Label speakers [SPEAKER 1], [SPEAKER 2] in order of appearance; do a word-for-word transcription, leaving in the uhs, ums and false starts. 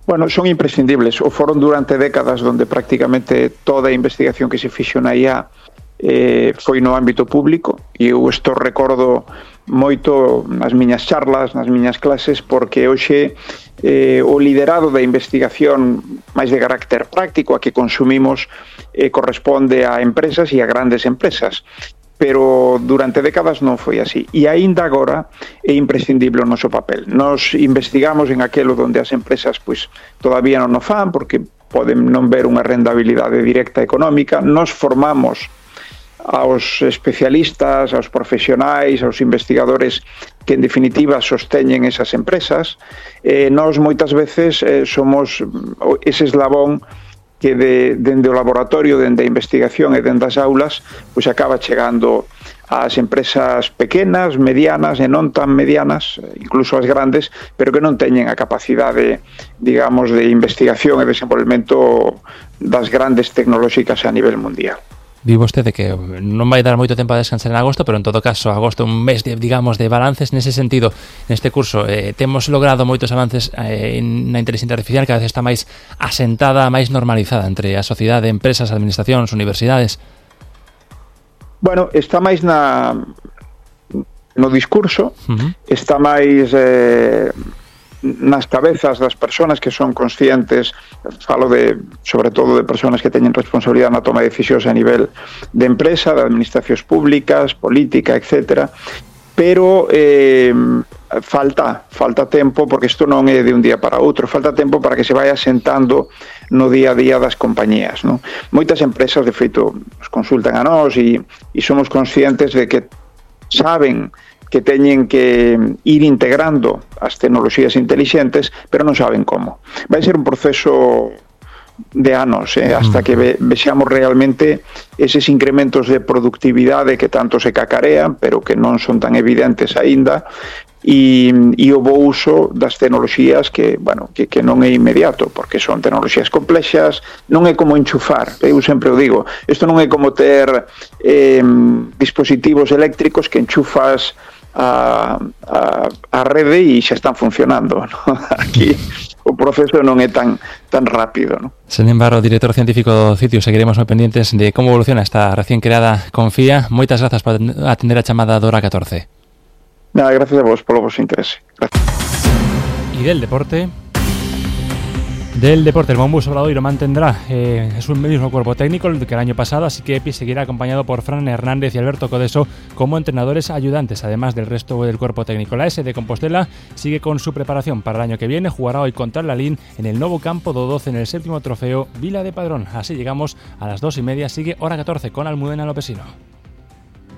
[SPEAKER 1] Bueno, son imprescindibles, o foron durante décadas donde prácticamente toda a investigación que se fixo na I A eh, foi no ámbito público, e eu isto recordo moito nas miñas charlas, nas miñas clases, porque hoxe eh, o liderado da investigación máis de carácter práctico a que consumimos eh, corresponde a empresas e a grandes empresas, pero durante décadas non foi así, e aínda agora é imprescindible o noso papel. Nos investigamos en aquelo donde as empresas pois todavía non o fan porque poden non ver unha rentabilidade directa económica. Nos formamos aos especialistas, aos profesionais, aos investigadores que en definitiva sosteñen esas empresas. Eh, nós moitas veces eh, somos ese eslabón que de, dende o laboratorio, dende a investigación e dende as aulas, pois acaba chegando ás empresas pequenas, medianas e non tan medianas, incluso as grandes, pero que non teñen a capacidade, digamos, de investigación e desenvolvemento das grandes tecnolóxicas a nivel mundial.
[SPEAKER 2] Di vostede que non vai dar moito tempo a descansar en agosto, pero en todo caso, agosto é un mes, de, digamos, de balances nese sentido. Neste curso eh, temos logrado moitos avances eh, na inteligencia artificial, cada vez está máis asentada, máis normalizada entre a sociedade, empresas, administracións, universidades.
[SPEAKER 1] Bueno, está máis na no discurso, uh-huh. está máis eh, nas cabezas das persoas que son conscientes, falo de, sobre todo de persoas que teñen responsabilidade na toma de decisións a nivel de empresa, de administracións públicas, política, etcétera, pero eh, falta, falta tempo, porque isto non é de un día para outro, falta tempo para que se vaya asentando no día a día das compañías, non? Moitas empresas, de feito, nos consultan a nós e, e somos conscientes de que saben que teñen que ir integrando as tecnoloxías intelixentes, pero non saben como. Vai ser un proceso de anos, eh, hasta que ve, vexamos realmente eses incrementos de productividade que tanto se cacarean, pero que non son tan evidentes aínda, e, e o bo uso das tecnoloxías que, bueno, que, que non é inmediato, porque son tecnoloxías complexas, non é como enchufar, eu sempre o digo, isto non é como ter eh, dispositivos eléctricos que enchufas a, a, a rede e xa están funcionando, ¿no? Aquí o proceso non é tan tan rápido, ¿no?
[SPEAKER 2] Señor Barro, director científico do sitio, seguiremos moi pendientes de como evoluciona esta recién creada Confía. Moitas grazas por atender a chamada da Hora catorce.
[SPEAKER 1] Nada, gracias a vos polo vos interese. Gracias.
[SPEAKER 2] Y del deporte... Del deporte, el Mombus Obradoiro mantendrá eh, es un mismo cuerpo técnico que el año pasado, así que Epi seguirá acompañado por Fran Hernández y Alberto Codeso como entrenadores ayudantes, además del resto del cuerpo técnico. La S de Compostela sigue con su preparación para el año que viene, jugará hoy contra el Lalín en el nuevo campo do doce en el séptimo trofeo Vila de Padrón. Así llegamos a las dos y media, sigue Hora catorce con Almudena Lopesino.